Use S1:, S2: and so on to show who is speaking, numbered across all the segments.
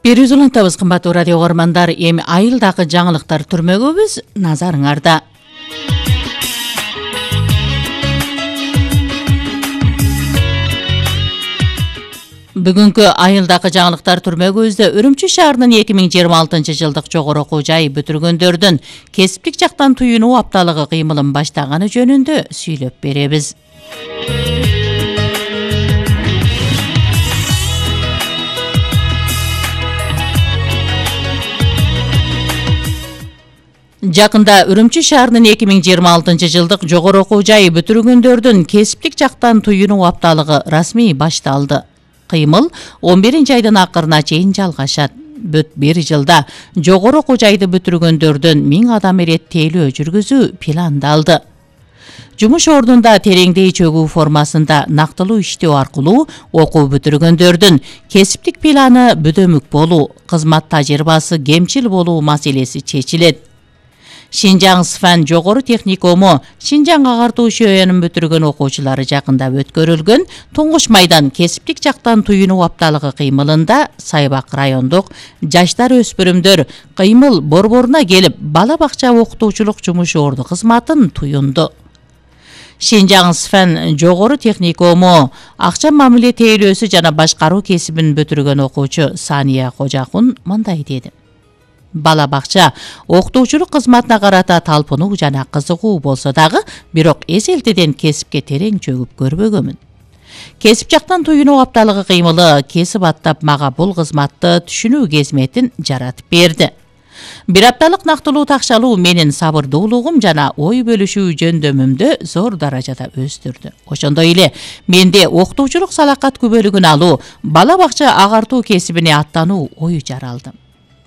S1: Берүүз улантабыз, кымбаттуу радио угармандар. Эми айылдагы жаңылыктар түрмөгөбүз, назарыңарда. Бүгүнкү айылдагы жаңылыктар түрмөгүбүздө Үрүмчү шаарынын 2026-жылдык жогору окуу жайы бүтүргөндөрдүн кесиптик жактан туюнуу апталыгы кыймылын баштаганы жөнүндө сүйлөп беребиз. Жакында Үрүмчү шаарынын 2026-жылдык жогору окуу жайы бүтүргөндөрдүн кесиптик жактан туюнуу апталыгы расмий башталды. Кыймыл 11-айдын акырына чейин жалгашат. Бүт бир жылда жогору окуу жайды бүтүргөндөрдүн 1000 адам иреттээлөө жүргүзүү пландалды. Жумуш ордунда тереңдей чөгүү формасында нактылуу иштөө аркылуу окуу бүтүргөндөрдүн кесиптик планы бүдөмүк болуу, кызмат тажрыйбасы кемчил болуу маселеси чечилет. Шинжаң СФАН жогору техникуму Шинжаң агартуу шөөнүн бүтүргөн окуучулары жакында өткөрүлгөн Туңгуш майдан кесиптик жактан туюнуу апталыгы кыймылында Сайбак райондук жаштар өспүрүмдөр кыймыл борборуна келип бала бакча окутуучулук жумуш орду кызматын туюнду. Шинжаң СФАН жогору техникуму акча мамиле тейлөөсү жана башкаруу кесибин бүтүргөн окуучу Сания Кожакун мындай деди. Бала бакча окутуучулук кызматына карата талпынуу жана кызыгуу болсо дагы, бирок эселтеден кесипке терең чөгүп көрбөгөмүн. Кесип жактан туюнуу апталыгы кыймылы кесип аттап мага бул кызматты түшүнүү кезметин жаратып берди. Бир апталык нактылуу такшалуу менин сабырдуулугум жана ой бөлүшүү жөндөмүмдү зор даражада өстүрдү. Ошондой эле менде окутуучулук салакат күбөлүгүн алуу, бала бакча агартуу кесибине аттануу ою жаралды.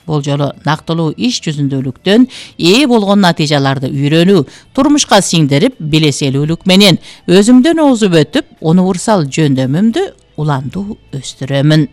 S1: Бул жолу нактылуу иш жүзүндөлүктөн ээ болгон натыйжаларды үйрөнүү, турмушка сиңдирип, билеселүүлүк менен өзүмдөн озуп өтүп, универсал жөндөмүмдү уландуу өстүрөмүн.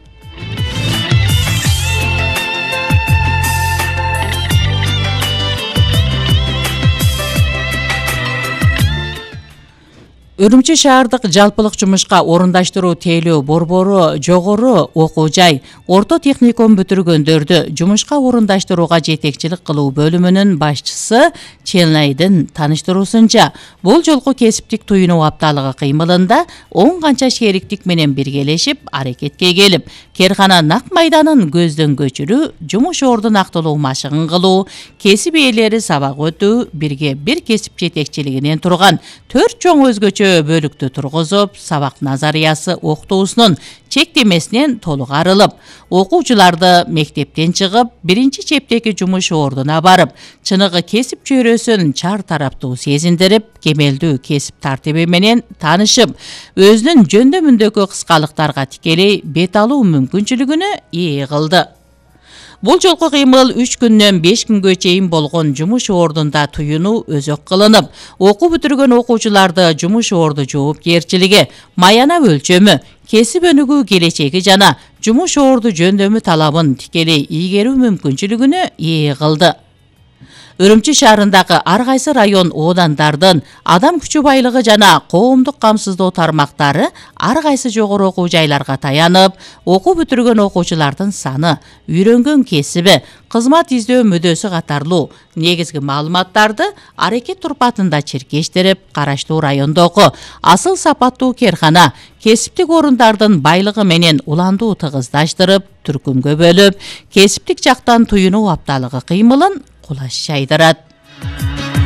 S1: Үрүмчү шаардык жалпылык жумушка орундаштыруу тейлөө борбору жогору окуу жай, орто техникум бүтүргөндөрдү жумушка орундаштырууга жетекчилик кылуу бөлүмүнүн башчысы Челнайдын таныштыруусунча, бул жолку кесиптик туюнуу апталыгы кыймылында 10 канча шериктик менен биргелешип, аракетке келип, керкана нак майданын көздөн көчүрүү, жумуш орду нактылуу машыгын кылуу, кесип ээлери сабак өтүү, бирге бир кесип жетекчилигинен турган 4 чоң өзгөчө бөлүктү тургузуп, сабак назариясы окутуусунун чектемесинен толук арылып, окуучуларды мектептен чыгып, биринчи чептеги жумуш ордуна барып, чыныгы кесип чөйрөсүн чар тараптуу сезиндирип, кемелдүү кесип тартиби менен таанышып, өзүнүн жөндөмүндөгү кыскалыктарга тикелей бет алуу мүмкүнчүлүгүнө ээ кылды. Бул жолку кыймыл 3 күндөн 5 күнгө чейин болгон жумуш ордунда туюнуу өзөк кылынып, окуу бүтүргөн окуучуларды жумуш орду жоопкерчилиги, маянап өлчөмү, кесип өнүгүү келечеги жана жумуш орду жөндөмү талабын тикелей ийгерүү мүмкүнчүлүгүнө ээ кылды. Үрүмчү шаарындагы ар кайсы район оодандардын адам күчү байлыгы жана коомдук камсыздоо тармактары ар кайсы жогору окуу жайларга таянып, окуу бүтүргөн окуучулардын саны, үйрөнгөн кесиби, кызмат издөө мүдөсү катарлуу негизги маалыматтарды аракет турпатында чиркештирип, караштуу райондогу асыл сапаттуу керкана, кесиптик орундардын байлыгы менен уландуу тыгыздаштырып, түркүмгө бөлүп, кесиптик жактан туюнуу апталыгы кыймылын кулаш жайдырат.